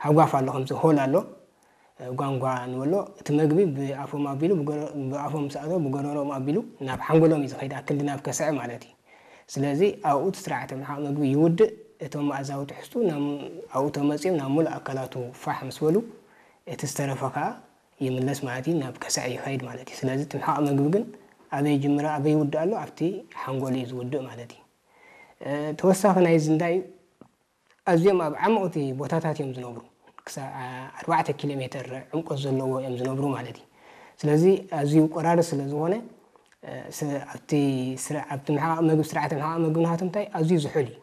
ሃጓፍ ኣሎ፣ ከምዚ ሆል ኣሎ፣ እ፣ ጓንጓ ንበሎ። እቲ መግቢ ብኣፎም ኣቢሉ፣ ብጎረ-፣ ብኣፎም ምስ ኣተወ ብጎረሮኦም ኣቢሉ ናብ ሓንጎሎም እዩ ዝኸይድ፣ ኣብ ክንዲ ናብ ከስዐ ማለት እዩ። ስለዚ ኣብኡ እቲ ስርዓተ ምሕቓቕ መግቢ ይውድእ፣ እቶም መኣዛዊ ትሕዝቱ ናብ፣ ኣብኡ ተመፅዮም ናብ ሙሉእ ኣካላቱ ፋሕ ምስ በሉ፣ እቲ ዝተረፈ ከዓ ይምለስ ማለት እዩ፣ ናብ ከስዐ ይኸይድ ማለት እዩ። ስለዚ እቲ ምሕቓቕ መግቢ ግን ኣበይ ይጅምር፣ ኣበይ ይውድእ ኣሎ? ኣብቲ ሓንጎል እዩ ዝውድእ ማለት እዩ። እ፣ ተወሳኺ ናይዚ እንታይ እዩ? ኣዝዮም ኣብ ዓመቕቲ ቦታታት እዮም ዝነብሩ። ክሳብ ኣርባዕተ ኪሎ ሜትር ዕምቆት ዘለዎ እዮም ዝነብሩ ማለት እዩ። ስለዚ ኣዝዩ ቆራሪ ስለ ዝኾነ፣ እ፣ ስ-፣ ኣብቲ ስራ-፣ ኣብቲ ምሕቓቕ መግቢ፣ ስርዓተ ምሕቓቕ መግቢ ናቶም እንታይ ኣዝዩ ዝሑል እዩ።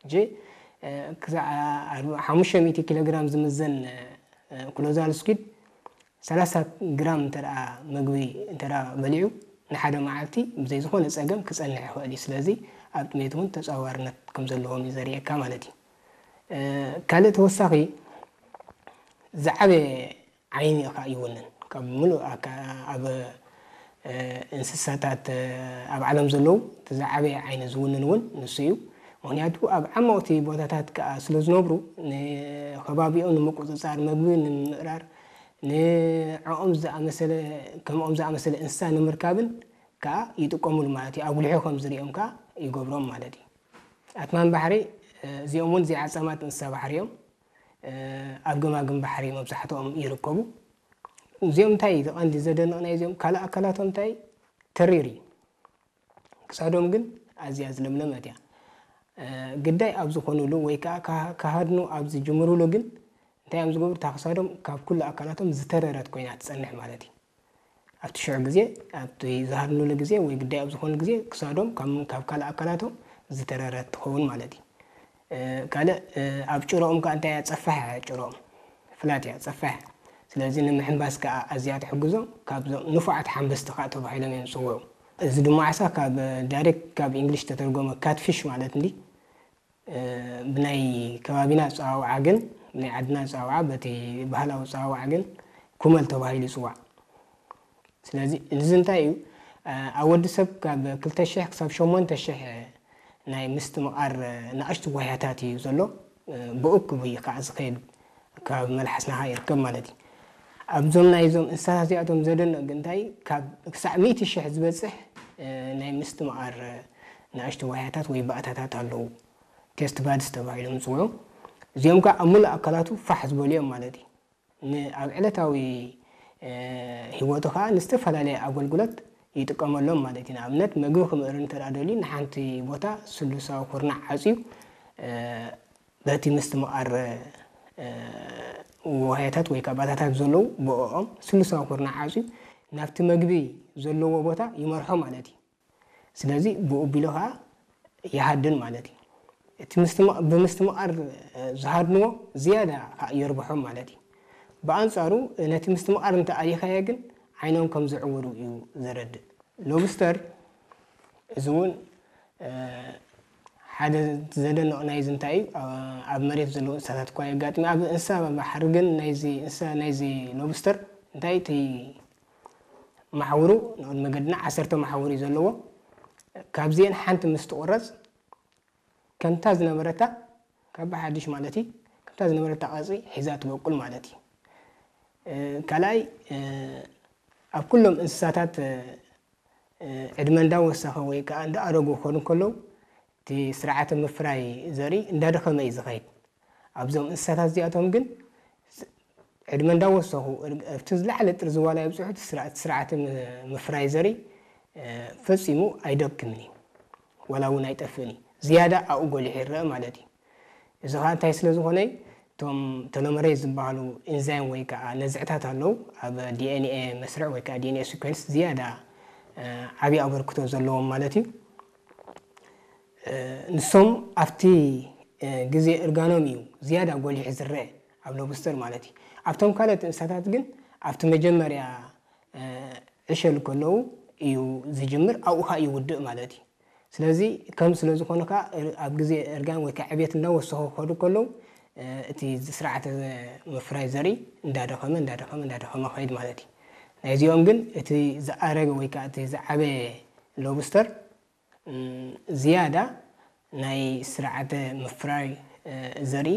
ሕጂ፣ እ፣ ክሳዕ ኣርባ-፣ ሓሙሽተ ሚእቲ ኪሎ ግራም ዝምዘን፣ እ፣ ክሎዛል ስኩድ ሰላሳ ግራም እንተ ደኣ መግቢ እንተ ደኣ በሊዑ፣ ንሓደ መዓልቲ ብዘይ ዝኾነ ጸገም ክጸንሕ ይኽእል እዩ። ስለዚ ኣብ ጥሜት እውን ተጻዋርነት ከም ዘለዎም እዩ ዘርእየካ ማለት እዩ። እ፣ ካልእ ተወሳኺ ዝዓበየ ዓይኒ ኸኣ ይውንን። ካብ ምሉእ ኣካ-፣ ኣብ፣ እ፣ እንስሳታት፣ እ፣ ኣብ ዓለም ዘለዉ እቲ ዝዓበየ ዓይኒ ዝውንን እውን ንሱ እዩ። ምኽንያቱ ኣብ ዓመቕቲ ቦታታት ከኣ ስለ ዝነብሩ፣ ንኸባቢኦም ንምቁጽጻር፣ መግቢ ንምምእራር፣ ንዕኦም ዝኣመሰለ፣ ከምኦም ዝኣመሰለ እንስሳ ንምርካብን ከኣ ይጥቀሙሉ ማለት እዩ። ኣጉሊሑ ከም ዝርእዮም ከኣ ይገብሮም ማለት እዩ። ኣትማን ባሕሪ፣ እ፣ እዚኦም እውን ዘይዓጻማት እንስሳ ባሕሪ እዮም። እ፣ ኣብ ገማግም ባሕሪ መብዛሕትኦም ይርከቡ። እዚኦም እንታይ እዩ እቲ ቀንዲ ዘደንቕ ናይ እዚኦም ካልእ ኣካላቶም እንታይ እዩ? ተሪር እዩ። ክሳዶም ግን ኣዝያ ዝለምለመት እያ። እ፣ ግዳይ ኣብ ዝኾኑሉ ወይ ከኣ ከ-፣ ክሃድኑ ኣብ ዝጅምሩሉ ግን እንታይ እዮም ዝገብሩ? እታ ክሳዶም ካብ ኩሉ ኣካላቶም ዝተረረት ኮይና ትጸንሕ ማለት እዩ። ኣብቲ ሽዑ ግዜ፣ ኣብቲ ዝሃድኑሉ ግዜ ወይ ግዳይ ኣብ ዝኾኑ ግዜ ክሳዶም ካብ፣ ካብ ካልእ ኣካላቶም ዝተረረት ትኸውን ማለት እዩ። እ፣ ካልእ፣ እ፣ ኣብ ጭረኦም ከኣ እንታይ እያ? ጸፋሕ እያ ጭረኦም። ፍላት እያ፣ ጸፋሕ። ስለዚ ንምሕንባስ ከኣ ኣዝያ ትሕግዞም። ካብዞም ንፉዓት ሓንበስቲ ከኣ ተባሂሎም እዮም ዝጽውዑ። እዚ ድማ ዓሳ ካብ፣ ዳይሬክት ካብ እንግሊሽ ተተርጎመ ካትፊሽ ማለት እንዲ፣ እ፣ ብናይ ከባቢና ኣጸዋውዓ ግን፣ ብናይ ዓድና ኣጸዋውዓ፣ በቲ ባህላዊ ኣጸዋውዓ ግን ኩመል ተባሂሉ ይጽዋዕ። ስለዚ እዚ እንታይ እዩ? እ፣ ኣብ ወዲ ሰብ ካብ ክልተ ሽሕ ክሳብ ሸሞንተ ሽሕ ናይ ምስትምቓር፣ እ፣ ንኣሽቱ ጓህያታት እዩ ዘሎ። እ፣ ብእኩብ እዩ ከዓ ዝኸይድ፣ ካብ መልሓስና ከዓ ይርከብ ማለት እዩ። ኣብዞም ናይዞም እንስሳታት እዚኣቶም ዘደንቕ ግን እንታይ፣ ካብ ክሳዕ ሚእቲ ሽሕ ዝበጽሕ፣ እ፣ ናይ ምስትምቓር፣ እ፣ ንኣሽቱ ጓህያታት ወይ ባእታታት ኣለዉ። ቴስት ባድስ ተባሂሎም ዝጽውዑ። እዚኦም ከዓ ኣብ ሙሉእ ኣካላቱ ፋሕ ዝበሉ እዮም ማለት እዩ። ን-፣ ኣብ ዕለታዊ፣ እ፣ ህይወቱ ከዓ ንዝተፈላለየ ኣገልግሎት ይጥቀመሎም ማለት እዩ። ንኣብነት፣ ምግቢ ክምእር እንተ ደኣ ደልዩ፣ ንሓንቲ ቦታ ስሉሳዊ ኩርናዕ ዓጽዩ፣ እ፣ በቲ ምስትምቓር፣ እ፣ ዋህያታት ወይ ከዓ ባታታት ዘለዉ ብኦኦም ስሉሳዊ ኩርናዕ ዓጽዩ ናብቲ መግቢ ዘለዎ ቦታ ይመርሖ ማለት እዩ። ስለዚ ብኡ ቢሉ ኸዓ ይሃድን ማለት እዩ። እቲ ምስትማ-፣ ብምስትምቓር፣ እ፣ ዝሃድንዎ ዝያዳ ኸዓ የርብሖም ማለት እዩ። ብኣንጻሩ ነቲ ምስትምቓር እንተ ኣሊኻዮ ግን ዓይኖም ከም ዝዕወሩ እዩ ዘረድእ። ሎብስተር እዚ እውን፣ እ፣ ሓደ ዘደንቕ ናይዚ እንታይ እዩ፣ እ፣ ኣብ መሬት ዘለዉ እንስሳታት እኳ የጋጥም እዩ። ኣብ እንስሳ ባሕሪ ግን ናይዚ እንስሳ ናይዚ ሎብስተር እንታይ እቲ መሓውሩ ንቕድሚ መገድና ዓሰርተ መሓውር እዩ ዘለዎ። ካብዚአን ሓንቲ ምስ ትቑረጽ ከምታ ዝነበረታ ካብ ብሓድሽ ማለት እዩ፣ ከምታ ዝነበረታ ቅርጺ ሒዛ ትበቁል ማለት እዩ። እ፣ ካልኣይ፣ እ፣ ኣብ ኩሎም እንስሳታት፣ እ፣ እ፣ ዕድመ እንዳወሰኸ ወይ ከዓ እንዳኣረጉ ክኾኑ ከለዉ እቲ ስርዓተ ምፍራይ ዘርኢ እንዳደኸመ እዩ ዝኸይድ። ኣብዞም እንስሳታት እዚኣቶም ግን ስ-፣ ዕድመ እንዳወሰኹ እር-፣ ኣብቲ ዝለዓለ ጥርዚ ዋላ ይብፅሑ፣ እቲ ስርዓት፣ ስርዓተ ም-፣ ምፍራይ ዘርኢ፣ እ፣ ፈጺሙ ኣይደክምን እዩ፣ ዋላ እውን ኣይጠፍእን እዩ። ዝያዳ ኣብኡ ጎሊሑ ይረአ ማለት እዩ። እዚ ኸዓ እንታይ ስለ ዝኾነ እዩ? እቶም ቴሎመሬዝ ዝበሃሉ ኢንዛይም ወይ ከዓ ነዝዕታት ኣለዉ፣ ኣብ ዲ ኤን ኤ መስርዕ ወይ ከዓ ዲ ኤን ኤ ሲኮንስ ዝያዳ፣ እ፣ ዓብዪ ኣበርክቶ ዘለዎም ማለት እዩ። እ፣ ንሶም ኣብቲ፣ እ፣ ግዜ እርጋኖም እዩ ዝያዳ ጎሊሑ ዝረአ ኣብ ሎብስተር ማለት እዩ። ኣብቶም ካልኦት እንስሳታት ግን ኣብቲ መጀመርያ፣ እ፣ ዕሸል ከለዉ እዩ ዝጅምር፣ ኣብኡ ኸኣ ይውድእ ማለት እዩ። ስለዚ ከም ስለ ዝኾነ ኸኣ ኣብ ግዜ እርጋን ወይ ከዓ ዕብየት እንዳወሰኹ ክኸዱ ከለዉ፣ እ፣ እቲ ስርዓተ ምፍራይ ዘርኢ እንዳደኸመ፣ እንዳደኸመ፣ እንዳደኸመ ኸይድ ማለት እዩ። ናይዚኦም ግን እቲ ዝኣረገ ወይ ከዓ እቲ ዝዓበየ ሎብስተር፣ እም፣ ዝያዳ ናይ ስርዓተ ምፍራይ፣ እ፣ ዘርኢ